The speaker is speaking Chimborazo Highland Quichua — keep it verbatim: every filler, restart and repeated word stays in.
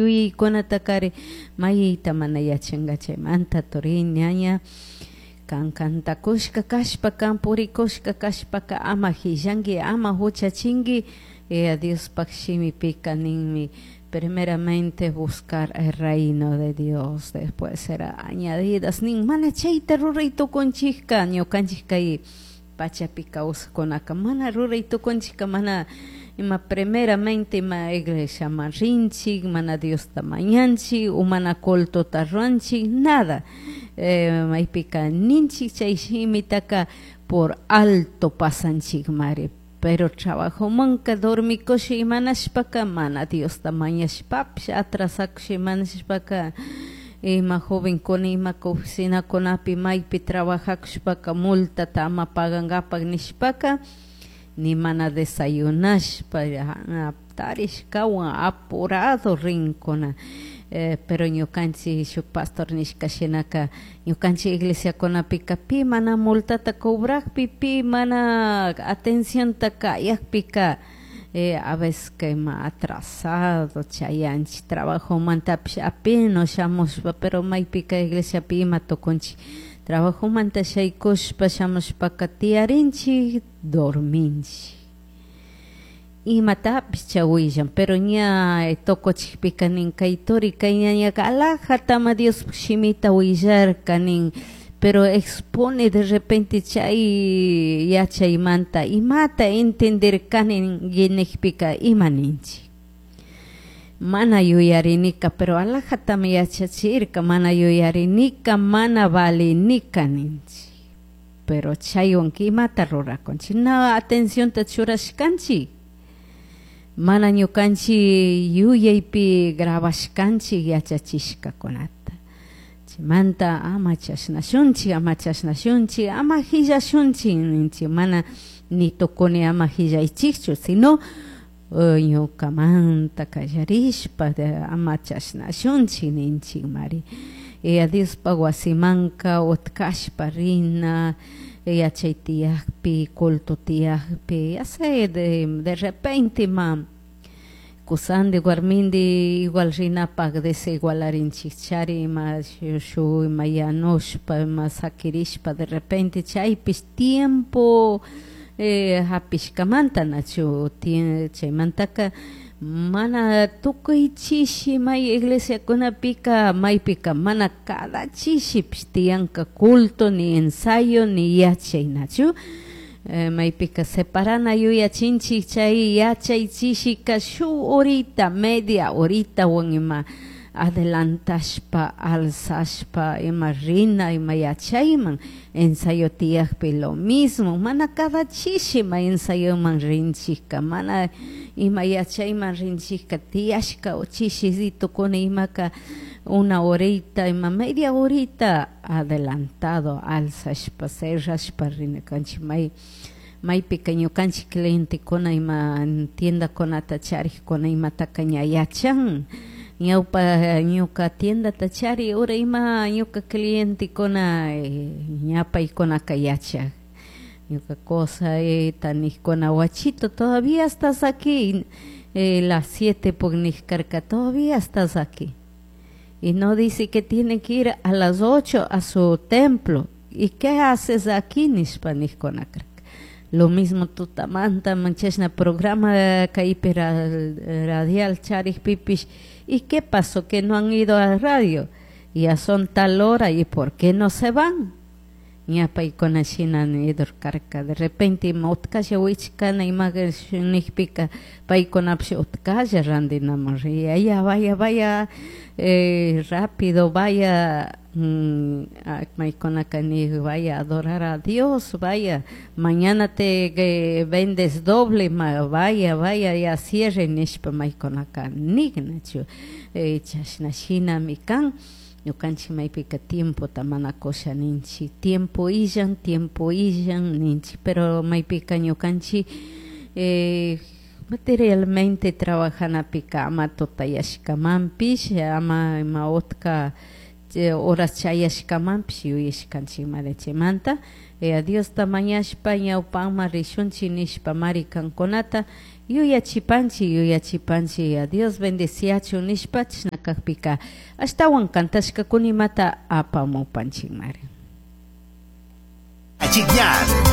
Yuyaykunata mayta mana yachanka chaymanta turi ñaña kan kantakushka kashpa kan purikushka kashpaka ama hillanki ama huchachinki. eh, Diospaj shimipika ninmi primeramente buscar el reino de Dios, después será añadidas nin. Mana chayta ruray tukunchikka ñukanchik kay pachapi kawsakkunaka mana ruray tukunchikka mana ima primeramente ima iglesiaman rinchik, mana Diosta mañanchik o mana cultota ruranchik, nada. eh, maypika ninchik chay shimitaka por alto pasanchikmari, pero trabajomanka dormikusha imanashpaka mana Diosta mañashpapish atrasakusha imanashpaka ima jovenkuna ima oficinakunapi maypi trabajakushpaka multata ama pagankapak nishpaka ni mana desayunashpa tarishkawan apurado rinkuna. eh, pero ñukanchik shuk pastor nishka shinaka ñukanchik iglesiakunapika pi mana multata cobrakpi, pi mana atencionta kayakpika eh, a veces que ima atrasado chayanchik trabajomantapish apenas shamushpa, pero maypika iglesiapi ima tukunchik trabajomanta shaykushpa shamushpaka tiyarinchik, dorminchik, imatapish chawillan, pero ña tukuchikpika nin kay turi kay ñañaka alajatama Diospaj shimita willarka nin, pero expone de repente chay yachaymanta imata entenderkani nikpika ima ninchik mana yuyarinika, pero alajatami yachachirka, mana yuyarinika, mana valinika ninchik, pero chaywanka imata rurakunchik na atencionta churashkanchik, mana ñukanchik yuyaypi grabashkanchik yachachishkakunata. Chaymanta ama chashnashunchik, ama chashnashunchik, ama hillashunchik ninchik, mana ni tukuni ama hillaychikchu, sino ñukamanta kallarishpa ama chashnashunchik ninchik mari. Yaya Diospaj wasimanka utkashpa rina yachay tiyakpi, culto tiyakpi, ya sé, de, de repente ma kusandi warmindi igual rinapak desigualarinchikchari ima shuk ima yanushpa ima sakirishpa de repente chaypish tiempo eh, hapishkamanta nachu chaymantaka mana tukuy chishi may iglesiakunapika maypika mana cada chishipish tiyanka culto ni ensayo ni yachay nachu. eh, maypika separana yuyachinchik chay yachay chishika shuk horita media horitawan ima adelantashpa alzashpa ima rina ima yachayman ensayo tiyakpi lo mismo, mana cada chishi ma ensayoman rinchikka mana ima yachayman rinchikka tiyashka chishitukuna imaka una horita ima media horita adelantado alzashpa cerrashpa rina kanchik may maypika ñukanchik clientekuna ima tiendakunata charikuna imataka ña yachan ñawpa ñuka tiendata chari ura ima ñuka clientekuna ña paykunaka yachak ñuka cosa nikuna wachito todavía estás aquí, eh, las siete karka todavía estás aquí y no dice que tiene que ir a las ocho a su templo y qué haces aquí nishpa nikuna karka. Lo mismo tutamanta chashna programa kaypi radial charikpipish y qué pasó que no han ido a radio, ya son tal hora y por qué no se van. Ña paykuna shina karka de repente ima utkalla wichkana ima nikpika paykunapish utkalla randinaman riya ya vaya vaya eh, rápido vaya mm, maykunaka nik vaya a adorar a Dios, vaya mañana te eh, vendes doble ma, vaya vaya ya cierre nishpa maykunaka nik nachu eh, chashna shinami kan. Ñukanchik maypika tiempota mana kusha ninchik tiempo illan tiempo illan ninchik, pero maypika ñukanchik eh, materialmente trabajanapika ama tutayashkamanpish ama ima utka horas chayashkamanpish yuyashkanchik mari chaymanta eh, Diosta mañashpa ñawpakman rishunchik nishpa mari kankunata Yuyachipanchik, yuyachipanchik, Yaya Dios bendeciachun nishpa chashna kakpika ashtawan kantashkakunimata apamupanchikmari. Achikñan.